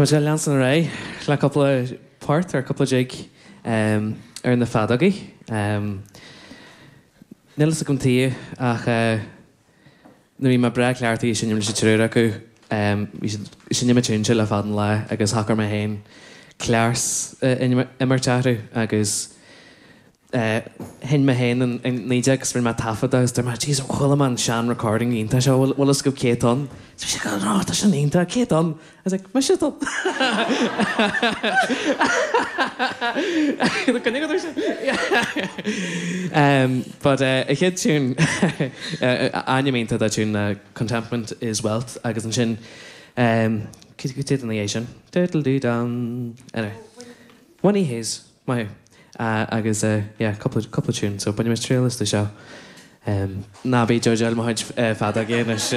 Tá muid ag leanstan ar aghaidh le cúpla port ar cúpla jig ar na feadógaí. Níl fhios agam tuige ach nuair a bhí mé breá cleachtaithe ag seinm leis an triúr acu, bhí siad ag seinm an tiún seo le fada an lá agus shocair mé féin cleas a imirt orthu agus Sheinn mé féin an 19 agus rinne mé taifead de agus dúirt mé, Jeez, chuala mé an sean recording iontach seo, bhfuil fhios agaibh cé atá ann? So bhí siad ag oh, tá sin iontach, cé atá ann? I was like, mise atá ann. Coinnigh go sin. But an chéad tune, ainm iontach dá tune ná Contentment is Wealth agus ansin, cad é an é sin? Diddle-dee-dum. Anyway. Winnie Hayes. Maith thú. Agus yeah, cúpla, cúpla tune, so bainfidh muid triail astu seo. Ná bí ag judgeáil mo chuid feadógaí anois.